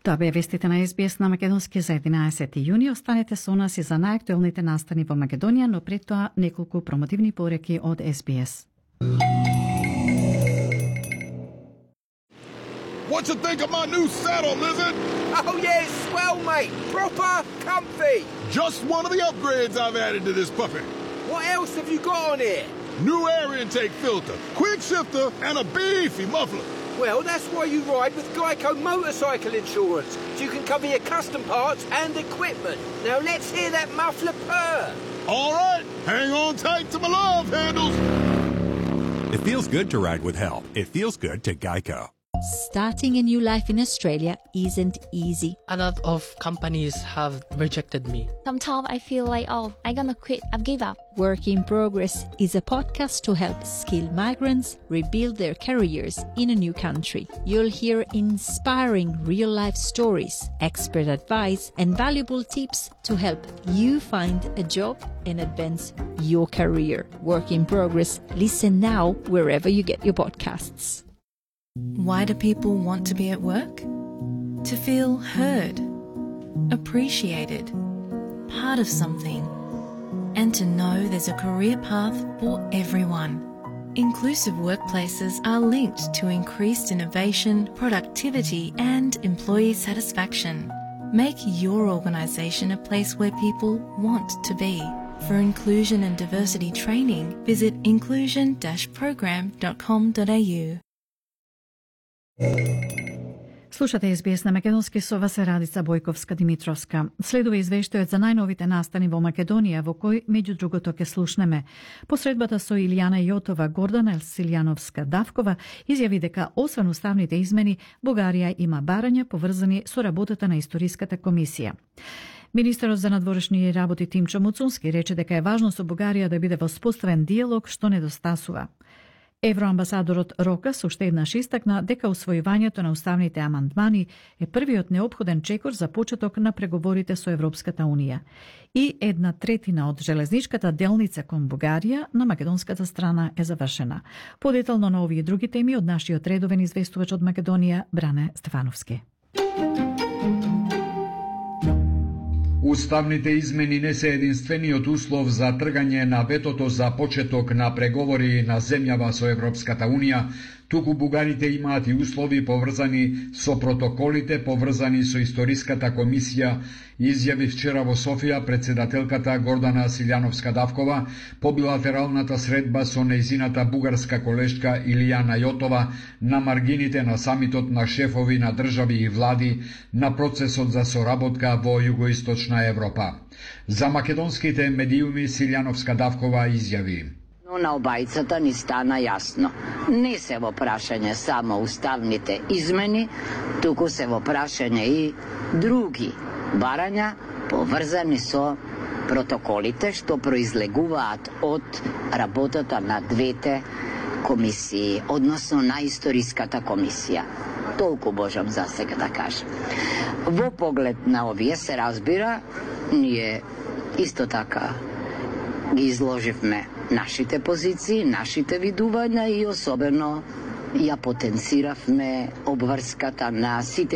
Тоа беа вестите на СБС на македонски за 11 јуни. Останете со нас и за најактуелните настани во Македонија, но пред тоа неколку промотивни пореки од СБС. What you think of my new saddle, Lizard? Oh yeah, it's swell, mate. Proper comfy. Just one of the upgrades I've added to this puppy. What else have you got on here? New air intake filter, quick shifter, and a beefy muffler. Well, that's why you ride with Geico motorcycle insurance, so you can cover your custom parts and equipment. Now let's hear that muffler purr. All right, hang on tight to my love handles. It feels good to ride with help. It feels good to Geico. Starting a new life in Australia isn't easy. A lot of companies have rejected me. Sometimes I feel like, I'm gonna quit, I've give up. Work in Progress is a podcast to help skilled migrants rebuild their careers in a new country. You'll hear inspiring real-life stories, expert advice, and valuable tips to help you find a job and advance your career. Work in Progress. Listen now wherever you get your podcasts. Why do people want to be at work? To feel heard, appreciated, part of something, and to know there's a career path for everyone. Inclusive workplaces are linked to increased innovation, productivity, and employee satisfaction. Make your organisation a place where people want to be. For inclusion and diversity training, visit inclusion-program.com.au. Слушате СБС на македонски, со вас е Радица Бојковска-Димитровска. Следува извештајот за најновите настани во Македонија, во кој, меѓу другото, ке слушнеме. Посредбата со Илијана Јотова, Гордана Силјановска-Давкова изјави дека, освен уставните измени, Бугарија има барања поврзани со работата на Историската комисија. Министерот за надворешни работи Тимчо Муцунски рече дека е важно со Бугарија да биде воспоставен диалог што недостасува. Евроамбасадорот Рокас уште еднаш истакна дека усвојувањето на уставните амандмани е првиот неопходен чекор за почеток на преговорите со Европската Унија. И 1/3 од железничката делница кон Бугарија на македонската страна е завршена. Подетално на овие други теми од нашиот редовен известувач од Македонија Бране Стефановски. Уставните измени не се единствениот услов за тргање на ветото за почеток на преговори на земјава со Европската Унија, туку бугарите имаат и услови поврзани со протоколите поврзани со Историската комисија, изјави вчера во Софија председателката Гордана Силјановска-Давкова по билатералната средба со нејзината бугарска колешка Илијана Јотова на маргините на самитот на шефови на држави и влади на процесот за соработка во југоисточна Европа. За македонските медиуми Силјановска-Давкова изјави: Но на обајцата ни стана јасно. Не се во прашање само уставните измени, туку се во прашање и други барања поврзани со протоколите што произлегуваат од работата на двете комисии, односно на Историската комисија. Толку можам за сега да кажам. Во поглед на овие се разбира, ние исто така ги изложивме нашите позиции, нашите видувања и особено ја потенциравме обврската на сите